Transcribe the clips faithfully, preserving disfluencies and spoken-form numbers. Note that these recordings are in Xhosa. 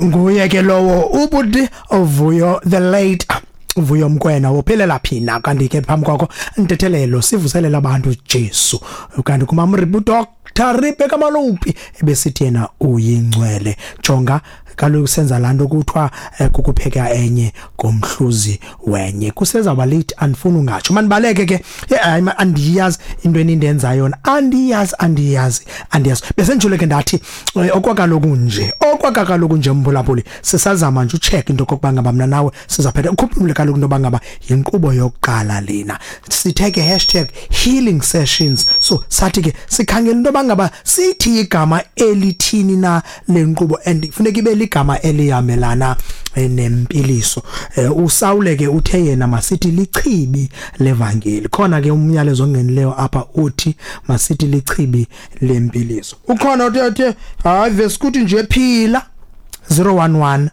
Nguye ke lowo ubuti Vuyo, the late Vuyo Mkwena, wophelela phina. Kanti ke phambi kwakho ntethelelo sivuselela abantu Jesu. Kanti kumamribu Doctor Rebecca Malope ebesithi yena uyingcwele. Jonga kaloku, senza laa nto kuthiwa eh, kukupheka enye ngomhluzi wenye. Kusezawuba late, andifuni ungatsho, manibaleke ke. Hayi, andiyazi into enindenza yona, andiyazi, andiyazi, andiyazi. Besenditshilo ke ndathi eh, okwakaloku nje okwakaloku nje mphulaphuli, sisazama nje ucheck into okokuba ngaba mna nawe sizaphetha. Ukhuphule kaloku into yoba ngaba yinkqubo yokuqala lena, sithe ke hashtag healing sessions. So sathi ke sikhangela into yoba ngaba sithi igama elithini na le nkqubo, and funeka ibe ligama elihambelana eh, nempiliso. eh, usawule ke uthe yena masithi lichibi levangeli. Khona ke umyalezo ongenileyo apha uthi masithi lichibi lempiliso. Ukhona uthe uthe hayi, vesikuthi nje phila zero one one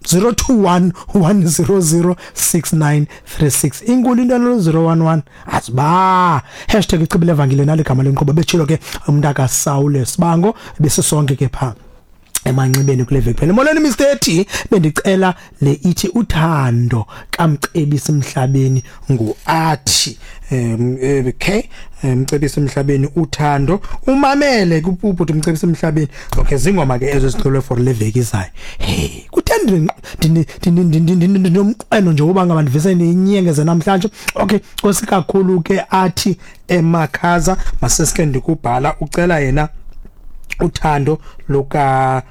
zero two one one zero zero six nine three six. Inkulu into lo zero one one aziba hashtag ichibi levangeli naligama lenkqubo. Betshilo ke umntaka Sawule Sibango, besisonke ke pha emanxibeni kule veki phela. Molweni Mister T, bendicela le ithi uthando kaMcebisi Emhlabeni, nguathi um okay, Mcebisi Emhlabeni, uthando. Umamele kupuphu Mcebisi Emhlabeni. Okay, zingoma ke ezo zicelwe for le veki izayo. Hey, kutheni ndinomqweno nje uba ngaba ndivise niyinyengeze namhlanje? Okay, nkosi kakhulu ke athi emakhaza masesike ndikubhala. Ucela yena uthando luka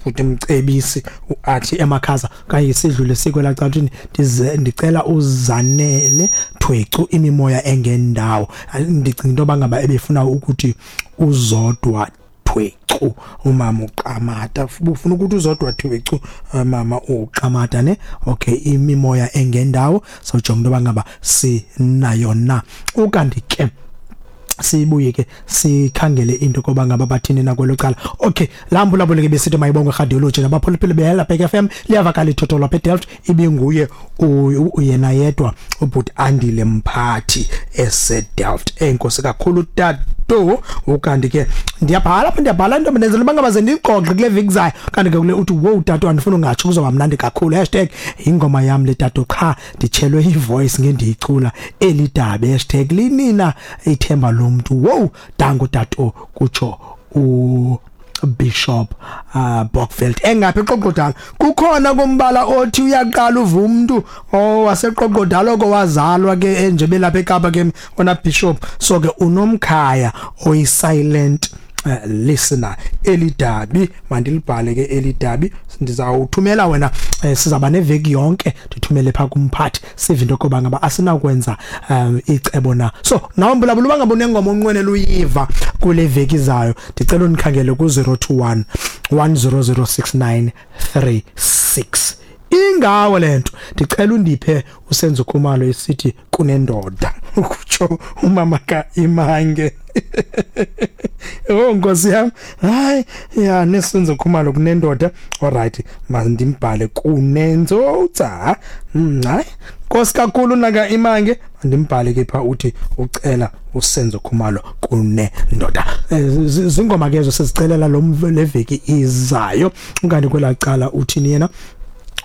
futhi Mcebisi athi emakhaza. Kanye sidlule sikwela cala, ndize ndicela uzanele Thwecu, imimoya engendawo. Ndicinga into bangaba ebefuna ukuthi uzodwa Thwecu, umama uQamata ufuna ukuthi uzodwa Thwecu, mama uQamata ne. Okay, imimoya engendawo, sawujonga into bangaba sinayo na. Ukanti ke sibuye ke sikhangele into koba ngaba bathini nakwelo cala. Okay, laa mbulabule ke besithi mayibongwe radiology nabaphulaphuli behela Bhek F M. Liyavakala ithotho lapha eDelft. Ibinguye yena yedwa ubhuti Andile Mphathi eseDelft. Enkosi kakhulu, tato. Ukanti ke ndiyabhala apha, ndiyabhala into ndenzela uba ngaba ze ndixoxe kule veki zayo. Kanti ke kule uthi, "Wow tato, andifuna ungatsho, kuzoba mnandi kakhulu." Hashtag ingoma yam le tato, qha nditshelwe ivoice ngendiyicula elidabi. Hashtag linina ithemba lomntu. Wow, dango tato, kutsho u Bishop uh, Bokveld engaphi eQoqodala. Kukhona kombala othi uyaqala uva umuntu owaseQoqodala oko wazalwa ke enje belapha eKapa ke ona Bishop. So ke unomkhaya oyi silent uh, listener. Elidabi mandilibhale ke, elidabi ndizawuthumela wena. eh, sizaba neveki yonke, ndithumele pha kumphathi, sive into yokuba ngaba asinakwenza um icebo na. So nawe mbulabula, uba ngaba unengoma onqwenela uyiva kule veki zayo, ndicela undikhangele ku-zero two one one zero zero six nine three six. Ingawo lento, ndicela undiphe uSenzo Khumalo esithi kunendoda, ukutsho umama ka Imange. Oh nkosi yami, hayi ya, neSenzo Khumalo kunendoda. Alright, mandimbhale kunenzotsa. Hayi, nkosi kakhulu naka Imange, mandimbhale ke pha, uthi ucela uSenzo Khumalo kunendoda. Zingoma ke ezo sizicelela lo leveki izayo. Unkanti kwelacala uthini yena?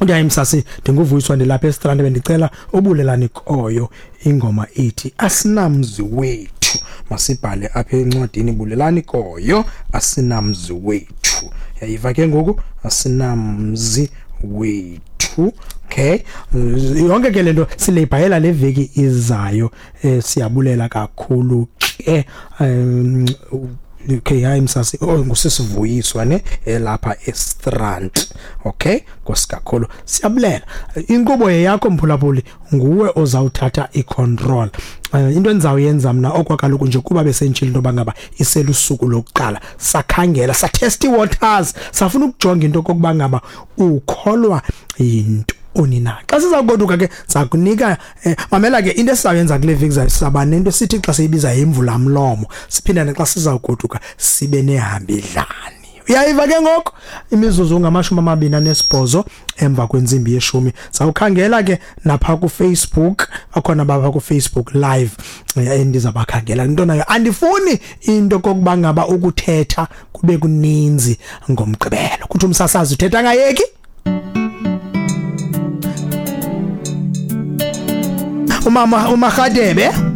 Uthi, "Msasi, ndinguvuyiswa, ndilapha eStrand, bendicela ubulelani koyo, ingoma ithi asinamzi wethu." Masibhale apha encwadini, bulelani koyo, asinamzi wethu. Yayiva ke ngoku, asinamzi wethu. Okay, yonke ke lento sileyibhayela le veki izayo. eh, siyabulela kakhulu ke. um okay, hayi msasi, oh, ngusisivuyiswa ne elapha eStrand. Okay, nkosi kakhulu, siyabulela. Inkqubo yakho mphulaphuli, nguwe ozawuthatha icontrol. uh, into endizawuyenza mna okwakaloku nje, kuba besentshile into bangaba iselusuku lokuqala, sakhangela, satest waters, safuna ukujonga into kokuba ngaba ukholwa yinto onina. Xa siza kugoduka ke sakunika eh, mamela ke, into esizayenza kule veki zayo, sizaba nento sithi xa siyibiza imvula mlomo, siphinde xa sizawugoduka sibe nehambidlani. Uyayiva ke ngoku, imizuzu ngamashumi amabini anesibhozo emva kwentsimbi yeshumi. Sawukhangela ke napha ku Facebook, akhona bapha ku Facebook live endizabakhangela into nayo. Andifuni into kokuba ngaba ukuthetha kube kuninzi ngomgqibelo, kuthi umsasazi uthetha ngayeki. Umama uMarhadebe